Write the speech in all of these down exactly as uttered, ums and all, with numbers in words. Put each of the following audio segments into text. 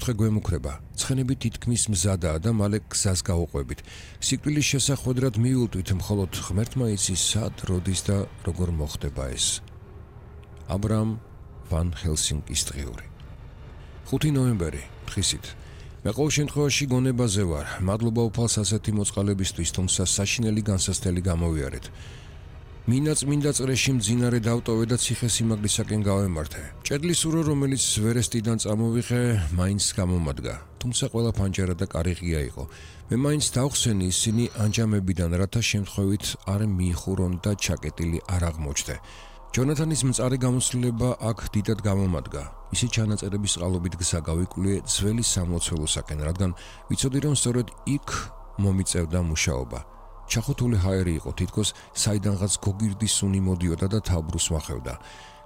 საფრთხე გვემუქრება. ცხენები თითქმის მზადაა და მალე გზას გავუყვებით. სიკვდილის შესახვედრად მიულტვით, მხოლოდ ღმერთმა იცის სად, როდის და როგორ მოხდება ეს. აბრაამ ვან ჰელსინკის დღიური. ხუთი ნოემბერი, დღისით. მე ყოველ შემთხვევაში გონებაზე ვარ. მადლობა უფალს ასეთი მოწყალებისთვის, თუმცა საშინელი განსასწრელი გამოვიარეთ. მინდა წმინდა წრეში მძინარე დავტოვე და ციხესიმაგრისაკენ გავემართე. ჭედლის ურო, რომელიც ვერესტიდან წამოვიღე, მაინც გამომადგა. თუმცა ყველა ფანჯარა და კარი ღია იყო. მე მაინც დავხსენი ისინი ანჯამებიდან, რათა შემთხვევით არ მიიხურონ და ჩაკეტილი არ აღმოჩნდე. ჯონათანის მწარე გამოცდილება აქ დიდად გამომადგა. ისე ჩანაწერების წყალობით გზა გავიკვლიე ძველი სამლოცველოსაკენ, რადგან ვიცოდი, რომ სწორედ იქ მომიწევდა მუშაობა. ჩახოთული ჰაერი იყო, თითქოს საიდანღაც გოგირდის სუნი მოდიოდა და თავბრუს ვახევდა.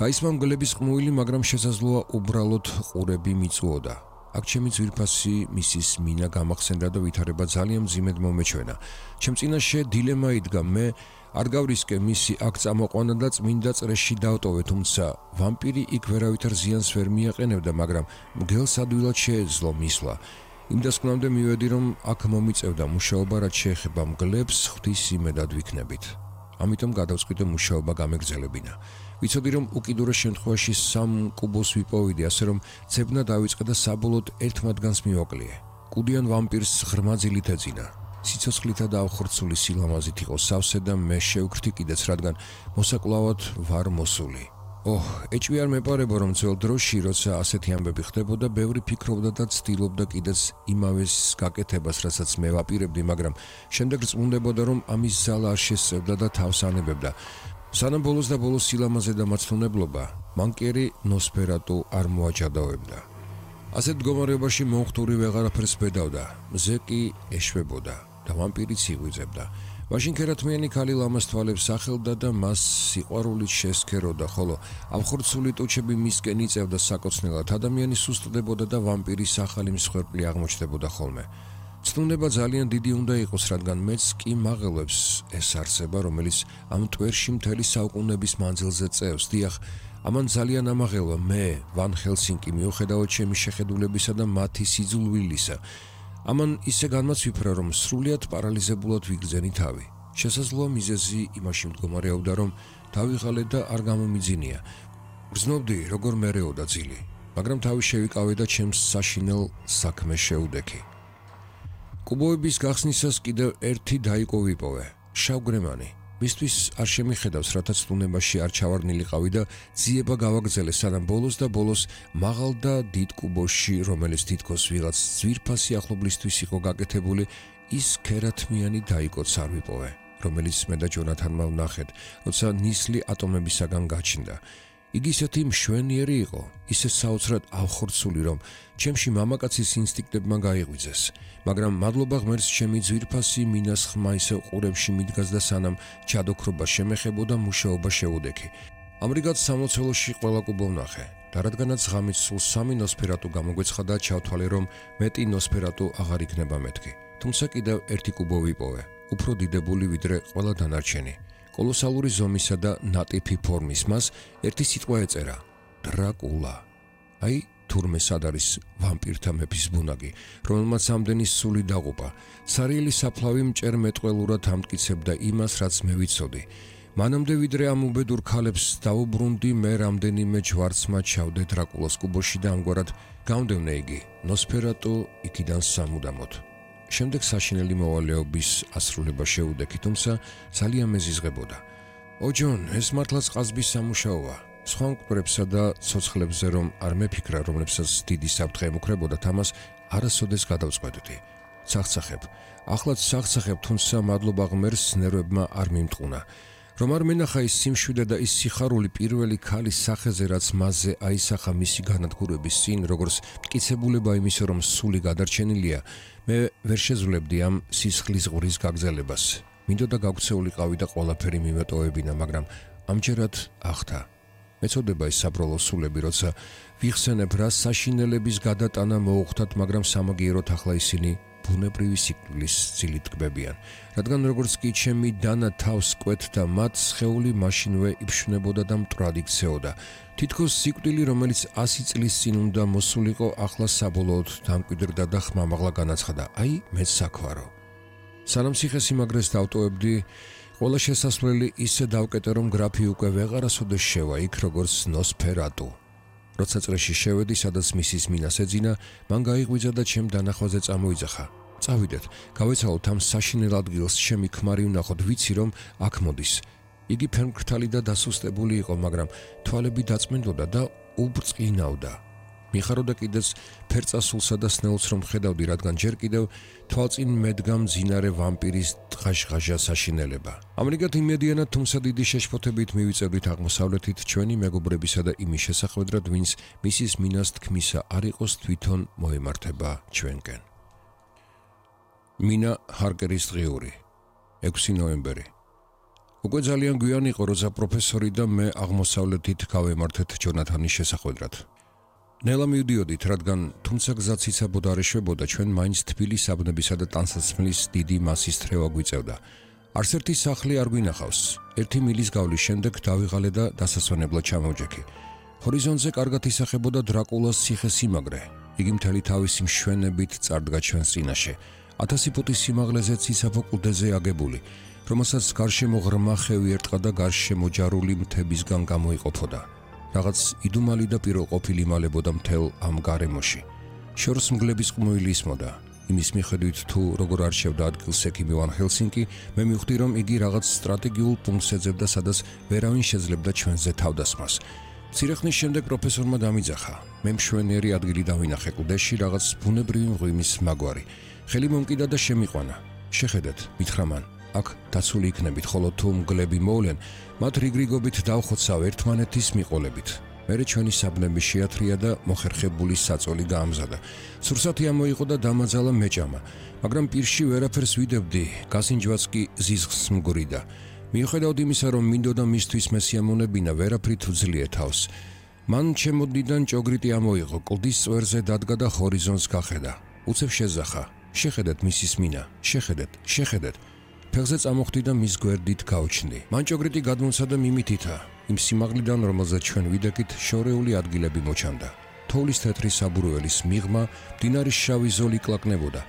გაისმა მგლების ყმუილი, მაგრამ შესაძლოა უბრალოდ ყურები მიწუოდა. აქ ჩემი ძვირფასი მისის მინა გამახსენდა და ვითარება ძალიან მძიმედ მომეჩვენა. ჩემ წინაშე დილემა იდგა, მე არ გავრისკე მისი აქ წამოყვანა და წმინდა წრეში დავტოვე, თუმცა ვამპირი იქ ვერავითარ ზიანს ვერ მიაყენებდა, მაგრამ მგელს ადვილად შეეძლო მისვლა. იმ დასკვნამდე მივედი, რომ აქ მომიწევდა მუშაობა, რაც შეეხება მგლებს, ღვთის იმედად ვიქნებით. ამიტომ გადავწყვიტე მუშაობა გამეგრძელებინა. ვიცოდი, რომ უკიდურეს შემთხვევაში სამ კუბოს ვიპოვიდი, ასე რომ ძებნა დავიწყე და საბოლოოდ ერთ მათგანს მივაკლიე. კუდიან ვამპირს ღრმა ძილით ეძინა. სიცოცხლითა და ავხორცული სილამაზით იყო სავსე და მე შევქრთი კიდეც, რადგან მოსაკლავად ვარ მოსული. ოჰ, ეჭვი არ მეპარებო, რომ ძველ დროში, როცა ასეთი ამბები ხდებოდა, ბევრი ფიქრობდა და ცდილობდა კიდეც იმავეს გაკეთებას, რასაც მე ვაპირებდი, მაგრამ შემდეგ რწმუნდებოდა, რომ ამის ზალა არ შესწევდა და თავს ანებებდა. სანამ ბოლოს და ბოლოს სილამაზე და მაცნუნებლობა, მანკიერი ნოსფერატუ არ მოაჯადავებდა. ასეთ მდგომარეობაში მომხდური ვეღარაფერს ბედავდა, მზე კი ეშვებოდა და ვამპირიც იღვიძებდა. მაშინ ქერათმიანი ქალი ლამას თვალებს ახელდა და მას სიყვარულით შესქეროდა, ხოლო ავხორცული ტუჩები მისკენ იწევდა საკოცნელად. ადამიანი სუსტდებოდა და ვამპირის ახალი მსხვერპლი აღმოჩნდებოდა ხოლმე. ცნუნება ძალიან დიდი უნდა იყოს, რადგან მეც კი მაღელვებს ეს არსება, რომელიც ამ ტვერში მთელი საუკუნეების მანძილზე წევს. დიახ, ამან ძალიან ამაღელვა მე, ვან ჰელსინკი, მიუხედავად ჩემი შეხედულებისა და მათი სიძულვილისა. ამან ისე განმაცვიფრა, რომ სრულიად პარალიზებულად ვიგრძენი თავი. შესაძლოა მიზეზი იმაში მდგომარეობდა, რომ დავიღალე და არ გამომიძინია. გრძნობდი, როგორ მერეოდა ძილი, მაგრამ თავი შევიკავე და ჩემს საშინელ საქმეს შეუდექი. კუბოების გახსნისას კიდევ ერთი დაიკო ვიპოვე, შავგრემანი. მისთვის არ შემიხედავს, რათა ცნუნებაში არ ჩავარდნილიყავი და ძიება გავაგრძელე, სანამ ბოლოს და ბოლოს მაღალ და დიდ კუბოში, რომელიც თითქოს ვიღაც ძვირფასი ახლობლისთვის იყო გაკეთებული, ის ქერათმიანი დაიკოც არ ვიპოვე, რომელიც მე და ჯონათანმა ვნახეთ, როცა ნისლი ატომებისაგან გაჩნდა. იგი ისეთი მშვენიერი იყო, ისე საოცრად ავხორცული, რომ ჩემში მამაკაცის ინსტინქტებმა გაიღვიძეს, მაგრამ მადლობა ღმერთს, ჩემი ძვირფასი მინას ხმა ისევ ყურებში მიდგას და სანამ ჩადოქრობა შემეხებოდა, მუშაობა შეუდექი. ამრიგად სამლოცველოში ყველა კუბო ვნახე და რადგანაც ღამით სულ სამი ნოსფერატუ გამოგვეცხადა, ჩავთვალე, რომ მეტი ნოსფერატუ აღარ იქნება მეთქი. თუმცა კიდევ ერთი კუბო ვიპოვე, უფრო დიდებული ვიდრე ყველა დანარჩენი. კოლოსალური ზომისა და ნატიფი ფორმის, მას ერთი სიტყვა ეწერა: დრაკულა. აი, თურმე სად არის ვამპირთა მეფის ბუნაგი, რომელმაც ამდენი სული დაღუპა. სარიელი საფლავი მჭერმეტყველურად ამტკიცებდა იმას, რაც მე ვიცოდი. მანამდე ვიდრე ამ უბედურ ქალებს დაუბრუნდი, მე რამდენიმე ჯვარცმა ჩავდე დრაკულას კუბოში და ამგვარად გამდევნე იგი ნოსფერატუ იქიდან სამუდამოდ. შემდეგ საშინელი მოვალეობის ასრულება შეუდექი, თუმცა ძალიან მეზიზღებოდა. ო ჯონ, ეს მართლაც ყაზბის სამუშაოა. სხვა მკვდრებსა და ცოცხლებზე რომ არ მეფიქრა, რომლებსაც დიდი საფრთხე ემუქრებოდა, თამას არასოდეს გადავწყვეტდი. ცახცახებ, ახლაც ცახცახებ, თუმცა მადლობა ღმერთს, ნერვებმა არ მიმტყუნა. რომ არ მენახა ის სიმშვიდე და ის სიხარული პირველი ქალის სახეზე, რაც მასზე აისახა მისი განადგურების წინ, როგორც მტკიცებულება იმისა, რომ სული გადარჩენილია, მე ვერ შეძლებდი ამ სისხლის ღურის გაგრძელებას. მინდოდა გაგვცეულიყავი და ყველაფერი მივეტოვებინა, მაგრამ ამჯერად ახთა. მეწოდება ის საბროლო სულები, როცა ვიხსენებ, რა საშინელების გადატანა მოუხდათ, მაგრამ სამაგიეროდ ახლა ისინი ბუნებრივი სიკვდილის წილით ტკბებიან, რადგან როგორც კი ჩემი დანა თავს კვეთდა მათ, სხეული მაშინვე იფშვნებოდა და მტრად იქცეოდა. თითქოს სიკვდილი, რომელიც ასი წლის წინ უნდა მოსულიყო, ახლა საბოლოოდ დამკვიდრდა და ხმამაღლა განაცხადა: აი, მეც საქვარო. სანამ ციხესიმაგრეს დავტოვებდი, ყველა შესასვლელი ისე დავკეტე, რომ გრაფი უკვე ვეღარასოდეს შევა იქ, როგორც ნოსფერატუ. როცა წრეში შევედი, სადაც მისის მინას ეძინა, მან გაიღვიძა და ჩემ დანახვაზე წამოიძახა. წავიდეთ, გავეცალოთ ამ საშინელ ადგილს, ჩემი ქმარი ვნახოთ, ვიცი რომ აქ მოდის. იგი ფერმკრთალი და დასუსტებული იყო, მაგრამ თვალები დაწმენდოდა და უბრწყინავდა. მიხაროდა კიდეც ფერწასულსა და სნელს რომ ხედავდი, რადგან ჯერ კიდევ თვალწინ მედგა მძინარე ვამპირის დღაშღაჟა საშინელება. ამრიგად იმედიანად, თუმცა დიდი შეშფოთებით მივიწევდით აღმოსავლეთით ჩვენი მეგობრებისა და იმის შესახვედრად, ვინც მისის მინას თქმისა არ იყოს თვითონ მოემართება ჩვენკენ. მინა ჰარკერის დღიური, ექვსი ნოემბერი. უკვე ძალიან გვიან იყო, როცა პროფესორი და მე აღმოსავლეთით გავემართეთ ჯონათანის შესახვედრად. ნელა მივდიოდით, რადგან თუმცა გზაც იცაბოდა არ ეშვებოდა, ჩვენ მაინც თბილი საბნებისა და ტანსაცმლის დიდი მასის თრევა გვიწევდა. არც ერთი სახლი არ გვინახავს. ერთი მილის გავლის შემდეგ დავიღალე და დასასვენებლად ჩამოვჯექი. ჰორიზონტზე კარგად ისახებოდა დრაკულას ციხესიმაგრე. იგი მთელი თავისი მშვენებით წარდგა ჩვენს წინაშე. ათასი ფუტის სიმაღლეზე ციცაბო კლდეზე აგებული, რომელსაც გარშემო ღრმა ხევი ერტყა და გარშემო ჯარული მთებისგან გამოიყოფოდა. რაღაც იდუმალი და პიროყოფილი იმალებოდა მთელ ამ გარემოში. შორს მგლების ყმუილი ისმოდა. იმის მიხედვით, თუ როგორ არჩევდა ადგილს ექიმი ვან ჰელსინკი, მე მივხვდი, რომ იგი რაღაც სტრატეგიულ პუნქტს ეძებდა, სადაც ვერავინ შეძლებდა ჩვენზე თავდასხმას. მცირე ხნის შემდეგ პროფესორმა დამიძახა. მე მშვენიერი ადგილი დავინახე კლდეში, რაღაც ბუნებრივი მღვიმის მაგვარი. ხელი მომკიდა და შემიყვანა. შეხედეთ, მითხრა მან. აქ დაცული იქნებით, ხოლო თუ მგლები მოვლენ, მათ რიგრიგობით დავხოცავ ერთმანეთის მიყოლებით. მერე ჩვენი საბნები შეათრია და მოხერხებული საწოლი გაამზადა. სურსათი ამოიღო და დამაძალა მეჭამა, მაგრამ პირში ვერაფერს ვიდებდი, გასინჯვაც კი ზიზღს მგვრიდა. მიუხედავად იმისა, რომ მინდოდა მისთვის მე სიამოვნებინა, ვერაფრით ვძლია თავს. მან ჩემოდნიდან ჭოგრიტი ამოიღო, კლდის წვერზე დადგა და ჰორიზონტს გახედა. უცებ შეზახა. შეხედეთ მისის მინა, შეხედეთ, შეხედეთ. ფეხზე წამოხდი და მის გვერდით გავჩნდი. მან ჭოგრიტი გადმოსა და მიმითითა. იმ სიმაღლიდან, რომელზეც ჩვენ ვიდექით, შორეული ადგილები მოჩანდა. თოვლის თეთრი საბურველის მიღმა, მდინარის შავი ზოლი კლაკნებოდა.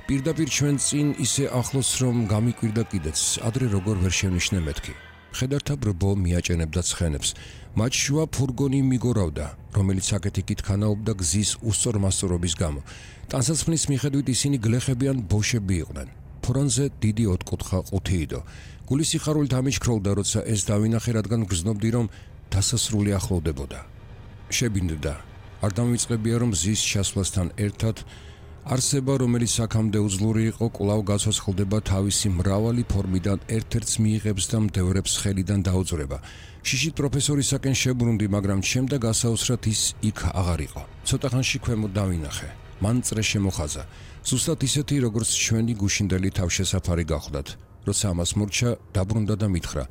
პირდაპირ ჩვენ წინ ისე ახლოს, რომ გამიკვირდა კიდეც, ადრე როგორ ვერ შევნიშნე მეთქი. მხედართა ბრბო მიაჭენებდა ცხენებს. მათ შუა ფურგონი მიგორავდა, რომელიც აქეთ-იქით ქანაობდა გზის უსწორმასწორობის გამო. ტანსაცმლის მიხედვით ისინი გლეხები ან ბოშები იყვნენ. ფორონზე დიდი ოთხკუთხა ყუთი იდო. გული სიხარულით ამიჩქროლდა, როცა ეს დავინახე, რადგან გრძნობდი, რომ დასასრული ახლოვდებოდა. შებინდდა. არ დამივიწყებია, რომ ზის ჩასვლასთან ერთად არსება, რომელიც აქამდე უძლური იყო, კვლავ გაცოცხლდება თავისი მრავალი ფორმიდან, ერთ-ერთს მიიღებს და მდევრებს ხელიდან დაუძვრება. შიშით პროფესორისაკენ შებრუნდი, მაგრამ ჩემდა გასაოცრად ის იქ აღარ იყო. ცოტა ხანში ქვემოთ დავინახე. მან წრე შემოხაზა. ზუსტად ისეთი, როგორც ჩვენი გუშინდელი თავშესაფარი გახლდათ. როცა ამას მორჩა, დაბრუნდა და მითხრა: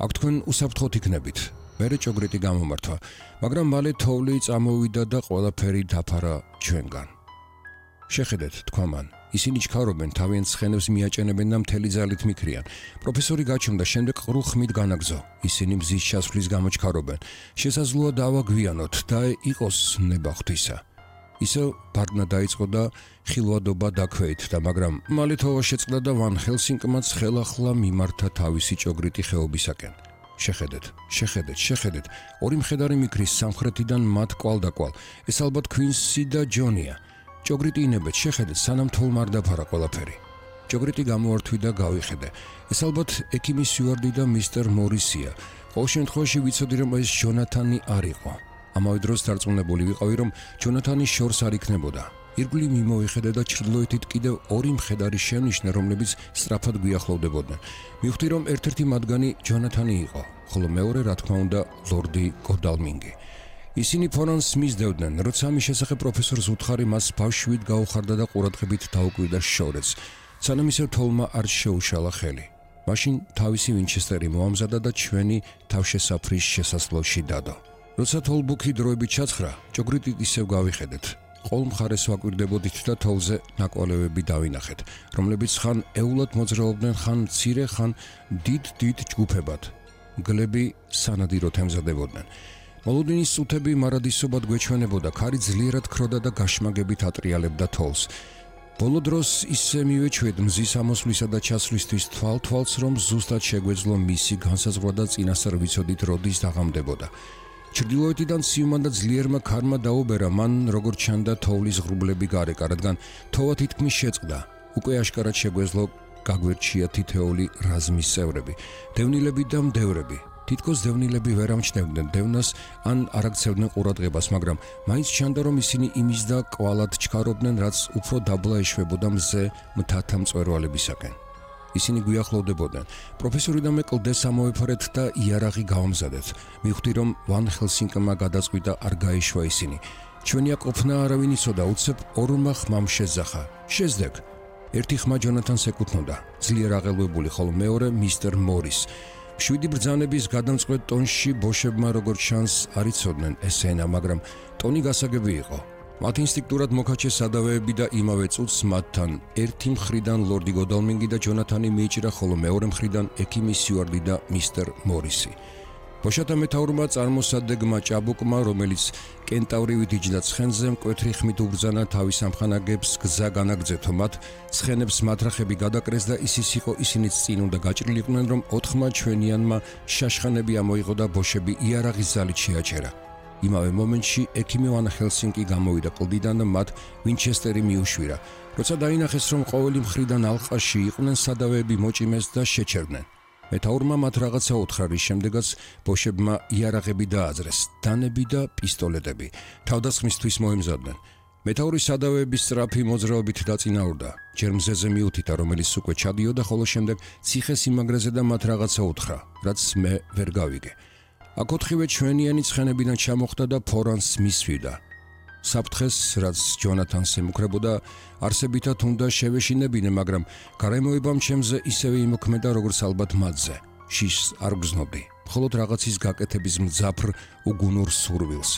აქ თქვენ უსაფრთხოდ იქნებით. მერე ჭოგრიტი გამომართვა, მაგრამ მალე თოვლი წამოვიდა და ყველაფერი დაფარა ჩვენგან. შეხედეთ, თქვა მან. ისინი ჩქარობენ, თავიანთ ცხენებს მიაჭენებენ და მთელი ძალით მიქრიან. პროფესორი გაჩნდა, შემდეგ ყრუ ხმით განაგზო. ისინი მზის ჩასვლის გამო ჩქარობენ. შესაძლოა დავაგვიანოთ და იყოს ნება ღვთისა. ისევ ბარდნა დაიწყო და ხილვადობა დაქვეითდა, მაგრამ მალე თოვა შეწყდა და ვან ჰელსინკმაც ხელახლა მიმართა თავისი ჭოგრიტი ხეობისაკენ. შეხედეთ, შეხედეთ, შეხედეთ. ორი მხედარი მიქრის სამხრეთიდან მათ კვალდაკვალ. ეს ალბათ ქვინსი და ჯონია. ჭოგრიტი ინებეთ, შეხედეთ, სანამ თოლმა არ დაფარა ყველაფერი. ჭოგრიტი გამოართვი და გავიხედე. ეს ალბათ ექიმის სიუარდი და მისტერ მორისია. ყოველ შემთხვევაში ვიცოდი, რომ ეს ჯონათანი არ იყო. ამავე დროს დარწმუნებული ვიყავი, რომ ჯონათანი შორს არ იქნებოდა. ირგვლივ მიმოვიხედე და ჩრდილოეთით კიდევ ორი მხედარი შევნიშნე, რომლებიც სწრაფად გვიახლოვდებოდნენ. მივხვდი, რომ ერთ-ერთი მათგანი ჯონათანი იყო, ხოლო მეორე, რა თქმა უნდა, ლორდი გოდალმინგი. ისინი ფორონს მისდევდნენ, როცა ამის შესახებ პროფესორს უთხარი, მას ბავშვით გაუხარდა და ყურადღებით დაუკვირდა შორეც, სანამ ისევ თოლმა არ შეუშალა ხელი. მაშინ თავისი ვინჩესტერი მოამზადა და ჩვენი თავშესაფრის შესასვლელში დადო. როცა თოლბუქი დროებით ჩაცხრა, ჭოგრიტით ისევ გავიხედეთ. ყოველ მხარეს ვაკვირდებოდით და თოვლზე ნაკვალევები დავინახეთ, რომლებიც ხან ეულად მოძრაობდნენ, ხან მცირე, ხან დიდ-დიდ ჯგუფებად. გლები სანადიროდ ემზადებოდნენ. მოლოდინის სუთები მარადისობად გვეჩვენებოდა, ქარი ძლიერად ქროდა და გაშმაგებით ატრიალებდა თოვლს. ბოლო დროს ისე მივეჩვეთ მზის ამოსვლისა და ჩასვლისთვის თვალ-თვალს, რომ ზუსტად შეგვეძლო მისი განსაზღვრა და წინასწარ ვიცოდით, როდის დაღამდებოდა. ჩრდილოეთიდან ციუმან და ძლიერმა ქარმა დაუბერა, მან როგორ ჩანდა თოვლის ღრუბლები გარეკა, რადგან თოვა თითქმის შეწყდა. უკვე აშკარად შეგვეძლო გაგვერჩია თითეული რაზმის წევრები, დევნილები და მდევრები. თითქოს დევნილები ვერ ამჩნევდნენ დევნას ან არ აქცევდნენ ყურადღებას, მაგრამ მაინც ჩანდა, რომ ისინი იმის და კვალად ჩქარობდნენ, რაც უფრო დაბლა ეშვებოდა მზე მთათა მწვერვალებისაკენ. ისინი გვიახლოვდებოდნენ. პროფესორი და მე კლდეს ამოვეფარეთ და იარაღი გავამზადეთ. მივხვდი, რომ ვან ჰელსინკმა გადაწყვიტა არ გაეშვა ისინი. ჩვენი ყოფნა არავინ იცოდა, უცებ ორმა ხმამ შეძახა. შეზდեք. ერთი ხმა ჯონათანს ეკუთვნოდა, ძლიერ აღელვებული, ხოლო მეორე მისტერ მორის. შვიდი ბრძანების გადამწყვეტ ტონში ბოშებმა როგორც ჩანს არ იცოდნენ ეს ენა, მაგრამ ტონი გასაგები იყო. მათ ინსტინქტურად მოკაჩეს სადავეები და იმავე წუთს მათთან ერთი მხრიდან ლორდი გოდალმინგი და ჯონათანი მიიჭრა, ხოლო მეორე მხრიდან ექიმი სიუარდი და მისტერ მორისი. ბოშათა მეთაურმა წარმოსადეგმა ჭაბუკმა, რომელიც კენტავრივით იჯდა ცხენზე, მკვეთრი ხმით უბრძანა თავის ამხანაგებს გზა განაგრძეთო მათ, ცხენებს მატრახები გადაკრეს და ისის იყო ისინიც წინ უნდა გაჭრილიყვნენ, რომ ოთხმა ჩვენიანმა შაშხანები ამოიღო და ბოშები იარაღის ძალით შეაჩერა. იმავე მომენტში ექიმი ვან ჰელსინკი გამოვიდა კლდიდან და მათ ვინჩესტერი მიუშვირა. როცა დაინახეს, რომ ყოველი მხრიდან ალყაში იყვნენ, სადავეები მოჭიმეს და შეჩერდნენ. მეთაურმა მათ რაღაცა უთხრა, რის შემდეგაც ბოშებმა იარაღები დააძრეს, დანები და პისტოლეტები. თავდასხმისთვის მოემზადნენ. მეთაური სადავეების სწრაფი მოძრაობით დაწინაურდა. ჯერ მზეზე მიუთიტა, რომელიც უკვე ჩადიოდა, ხოლო შემდეგ ციხეს იმაგრეზე და მათ რაღაცა უთხრა, რაც მე ვერ გავიგე. აქ ოთხივე ჩვენიანი ცხენებიდან ჩამოხდა და ფორანს მისვიდა. საფრთხეს, რაც ჯონათანს ემუქრებოდა, არსებითად უნდა შევეშინებინე, მაგრამ გარემოებამ ჩემზე ისევე იმოქმედა, როგორც ალბათ მათზე. შიშს არ გრძნობდი, მხოლოდ რაღაცის გაკეთების მძაფრ უგუნურ სურვილს.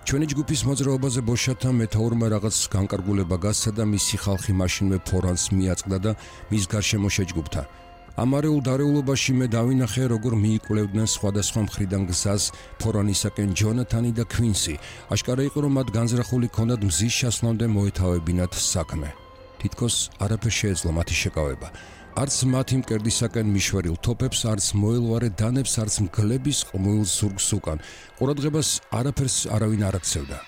ჩვენი ჯგუფის მოძრაობაზე ბოშათა მეთაურმა რაღაც განკარგულება გასცა და მისი ხალხი მაშინვე ფორანს მიაწყდა და მის გარშემო შეჯგუფდა. ამარეულ დარეულობაში მე დავინახე, როგორ მიიკვლევდნენ სხვადასხვა მხრიდან გზას ფორანისაკენ ჯონათანი და ქვინსი. აშკარა იყო, რომ მათ განზრახული ჰქონდათ მზის ჩასვლამდე მოეთავებინათ საქმე. თითქოს არაფერ შეეძლო მათი შეკავება. არც მათი მკერდისაკენ მიშვერილ თოფებს, არც მოელვარე დანებს, არც მგლების ყმუილ ზურგს უკან. ყურადღებას არაფერს არავინ არ აქცევდა.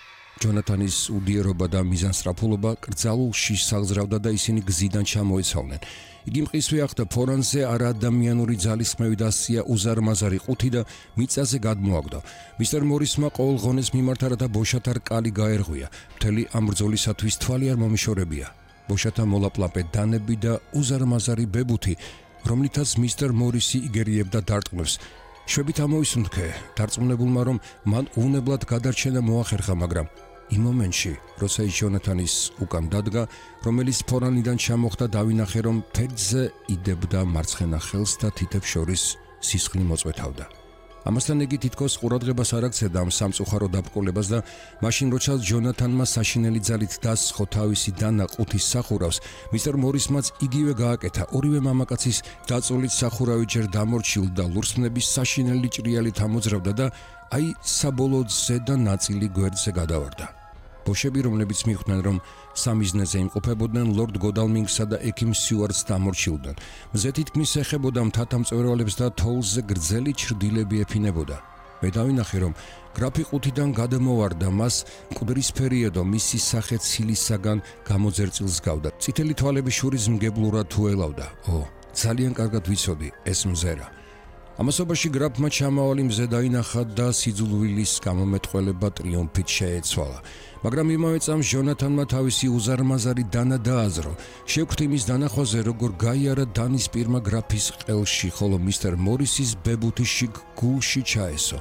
ჯონათანის უდიერობა და მიზანსწრაფულობა კრძალულ შიშს აღზრავდა და ისინი გზიდან ჩამოეცავნენ. იგი მყისვე ახდა ფორანზე არაადამიანური ძალისხმევი დასწია უზარმაზარი ყუთი და მიწაზე გადმოაგდო. მისტერ მორისმა ყოველ ღონეს მიმართა, რათა ბოშათა რკალი გაერღვია. მთელი ამ ბრძოლისათვის თვალი არ მომიშორებია. ბოშათა მოლაპლაპე დანები და უზარმაზარი ბებუთი, რომლითაც მისტერ მორისი იგერიებდა დარტყმებს. შვებით ამოვისუნთქე, დარწმუნებულმა, რომ მან უვნებლად გადარჩენა მოახერხა, მაგრამ იმ მომენტში, როცა ის ჯონათანის უკან დადგა, რომელიც ფორანიდან ჩამოხდა, დავინახე, რომ ფერდზე იდებდა მარცხენა ხელს და თითებს შორის სისხლი მოწვეთავდა. ამასთან იგი თითქოს ყურადღებას არ აქცევდა ამ სამწუხარო დაბრკოლებას და მაშინ, როცა ჯონათანმა საშინელი ძალით დასხო თავისი დანა ყუთის სახურავს, მისტერ მორისმაც იგივე გააკეთა. ორივე მამაკაცის დაწოლით სახურავი ჯერ დამორჩილ და ლურსმნების საშინელი ჭრიალით ამოძრავდა და აი საბოლოოდ ზედა ნაწილი გვერდზე გადავარდა. ბოშები, რომლებიც მიხვდნენ, რომ სამიზნეზე იმყოფებოდნენ, ლორდ გოდალმინგსა და ექიმ სიუარდს დამორჩილდნენ. მზე თითქმის ეხებოდა მთათა მწვერვალებს და თოვლზე გრძელი ჩრდილები ეფინებოდა. მე დავინახე, რომ გრაფი ყუთიდან გადმოვარდა, მას მკვდრისფერიედო, მისი სახე ცილისაგან გამოძერწილს გავდა. წითელი თვალები შურის მგებლურად თუ ელავდა. ო, ძალიან კარგად ვიცოდი, ეს მზერა. ამასობაში გრაფმა ჩამავალი მზე დაინახა და სიძულვილის გამომეტყველება ტრიუმფით შეეცვალა. მაგრამ იმავე წამს ჯონათანმა თავისი უზარმაზარი დანა დააზრო. შევხვდი მის დანახვაზე, როგორ გაიარა დანის პირმა გრაფის ყელში, ხოლო მისტერ მორისის ბებუთი შიგ გულში ჩაესო.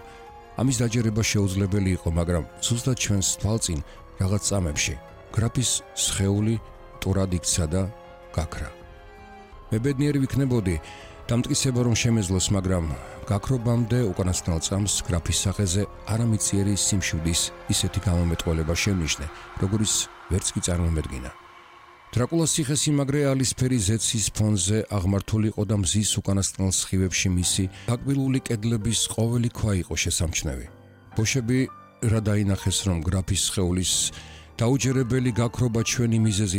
ამის დაჯერება შეუძლებელი იყო, მაგრამ ზუსტად ჩვენს თვალწინ რაღაც წამებში გრაფის სხეული ტურად იქცა და გაქრა. მე ბედნიერი ვიქნებოდი, დამტკიცება რომ შემეძლოს, მაგრამ გაქრობამდე უკანასკნელ წამს გრაფის სახეზე არამიწიერი სიმშვიდის ისეთი გამომეტყველება შემნიშნე, როგორიც ვერც კი წარმომედგინა. დრაკულას ციხესიმაგრე ალისფერი ზეცის ფონზე აღმართული იყო და მზის უკანასკნელ სხივებში მისი გაკბილული კედლების ყოველი ქვა იყო შესამჩნევი. ბოშები რა დაინახეს, რომ გრაფის სხეულის დაუჯერებელი გაქრობა ჩვენი მიზეზი